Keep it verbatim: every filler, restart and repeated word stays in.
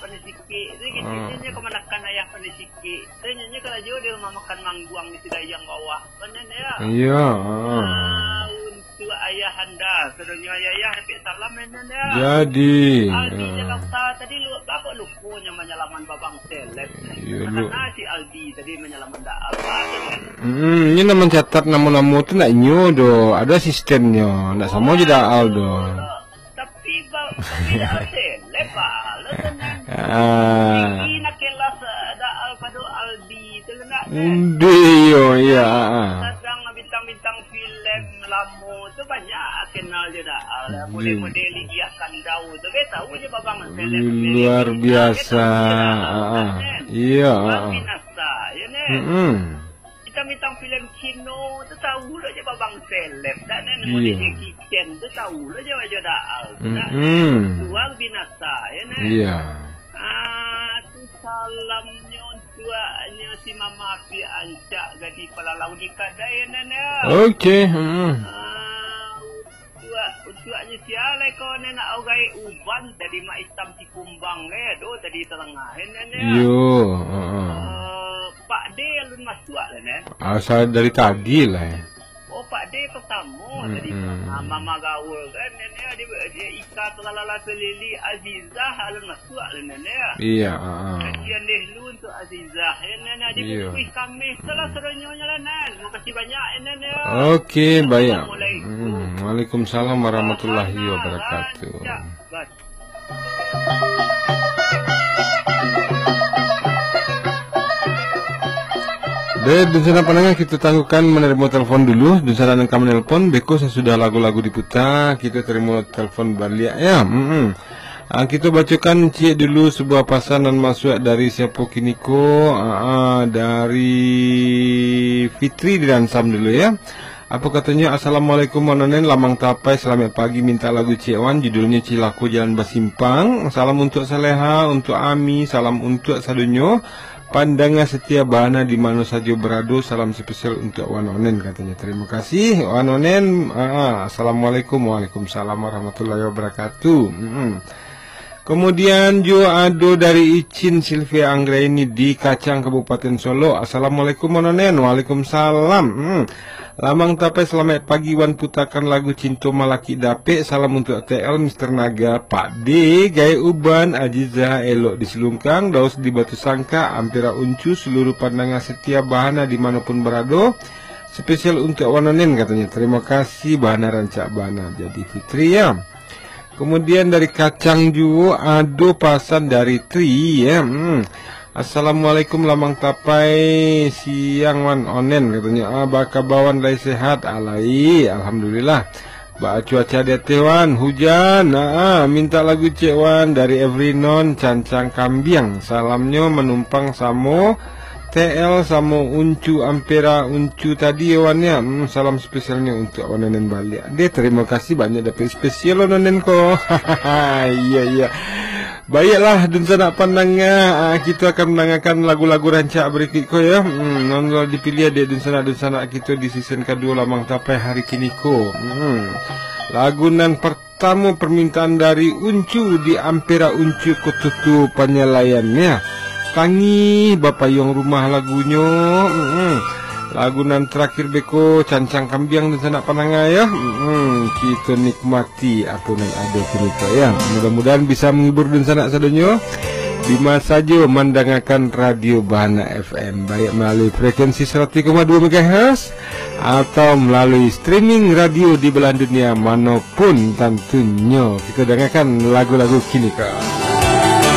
Pandai Siketek tu gitu. Ah. Nyo kamanakan ayah Pandai Siketek. Tu nyo, nyo karajo di rumah makan Mangguang di Sidayang bawah. Kan, Nen, yo? Iyo, ah. Ah, untuak ayah anda, sadonyo ayah-ayah, dapek salam, Nen, yo? Jadi, Aldi ah. Jakarta tadi lu, baa kok lupo nyo manyalaman Babang Seleb. Iyo, lu- Karano si Aldi tadi manyalaman Daal, Pak, tu, kan? Hmm, inyo nak mancatat namo-namo tu nak inyo doh. Ado sistemnyo. Nak samo jo Daal doh. Tapi ba-, tapi dak seleb, Pak. Lah tenang. Ah. Tinggi nak kelas, eh, Daal pado Aldi tu lah nak, kan? Ndi yo, iya, ah, ah. Sadang bintang-bintang filem lamo tu banyak kenal jo Daal. Model-model Lydia Kandau tu, kan, tahu je Babang seleb. Luar biasa. Ah, ah. Iya, ah, ah. Luar biasa, ya, Nen? Mm-mm. Bintang-bintang filem Cino tu tahu lo je Babang seleb, dak, Nen? Iya. Model Jackie Chan tu tahu lo je wajah Daal tu, dak, Nen? Mm-mm. Luar binasa, ya, Nen? Iya. Ah, tu salamnyo untuaknyo si Mama Api Ancak Gadih Palalau di Kadai, ya, Nen, ya? Oke, mm-mm. Ah, Untuak, untuaknyo sia lai ko, Nen, nak au gaek uban tadi, Mak Itam Sikumbang, eh, doh tadi talangah, eh, Nen, yo. Yo, heeh. Eh, Pak De alun masuak lah, Nen. Asa dari tadi lah, eh. Oh, Pak De pertamo tadi. Mm-mm. Ah, Mama Gaul, kan, Nen, yo, di, di Ika Telalala Selili, Azizah alun masuak. Suak lah, Nen, ya. Iya, ah, ah. Kajian deh lu untuk Azizah, ya, Nen, ya. Di Iya. Bukui Kamih tu lah sadonyo lah, Nen. Makasih banyak, ya, Nen, ya. Oke, baik. Assalamualaikum. Hmm, waalaikumsalam warahmatullahi Bahana wabarakatuh. Rancak, Bas. Dek, dunsanak pandanga, kita tangguhkan menerima telepon dulu. Dunsanak nan ka menelpon, beko sasudah lagu-lagu diputa, kita terima telepon baliak, ya. Mm-mm. Ah, kita bacakan ciek dulu sebuah pasan nan masuak dari siapo kini ko. Ah, ah, dari Fitri di Ransam dulu, ya. Apa katanya, "Assalamualaikum, Wan Onen, Lamang Tapai, salamaik pagi, minta lagu ciek, Wan, judulnya Cilako Jalan Basimpang. Salam untuk Saleha, untuk Ami, salam untuk sadonyo pandanga setia Bahana di mano sajo berado, salam spesial untuk Wan Onen," katanya. Terima kasih, Wan Onen. Ah, ah, assalamualaikum, waalaikumsalam warahmatullahi wabarakatuh. Mm-mm. Kemudian juo ado dari Icin Silvia Anggraini di Kacang, Kabupaten Solok. "Assalamualaikum, Wan Onen." Waalaikumsalam. Hmm. "Lamang Tapai, salamaik pagi, Wan, putakan lagu Cinto Malakik Dapek. Salam untuk T L, Mister Naga, Pak D, Gaek Uban, Aziza, Elok di Silungkang, Daus di Batu Sangka, Ampera Uncu, seluruh pandanga setia Bahana di mano pun berado. Spesial untuk Wan Onen," katanya. Terima kasih, Bahana rancak bana jadi Fitri, ya. Kemudian dari Kacang juo ado pasan dari Tri, ya. Hmm. "Assalamualaikum, Lamang Tapai, siang, Wan Onen," katanya. "Ah, baa kaba, Wan, lai sehat?" "Alai, alhamdulillah." "Baa cuaca di ateh, Wan?" "Hujan." "Ah, minta lagu ciek, Wan, dari Evrinon, Cancang Kambiang. Salamnyo manumpang samo T L samo Uncu Ampera Uncu tadi, Wan, ya. Hmm, salam spesialnyo untuk Wan Onen baliak." Deh, terima kasih banyak, dapek spesial Wan Onen ko. Iya, iya. Baiklah, dunsanak pandanga, ah, kita akan mendengarkan lagu-lagu rancak berikut ko, ya. Hmm, nan lah dipilih dek dunsanak-dunsanak kita di season kedua Lamang Tapai hari kini ko. Hmm. Lagu nan per- Tamu permintaan dari Uncu di Ampera Uncu Kotutu Panyalaian, ya. Tangih bapayuang rumah lagunyo. Mm-mm. Lagu nan terakhir beko Cancang Kambiang dunsanak pandanga, ya. Mm-mm. Kita nikmati apo nan ado kini ko, ya. Mudah-mudahan bisa menghibur dunsanak sadonyo di masa jo mandangakan Radio Bahana F M, baik melalui frekuensi seratus koma dua megahertz atau melalui streaming radio di belahan dunia mano pun tantunyo. Kita dangakan lagu-lagu kini ko.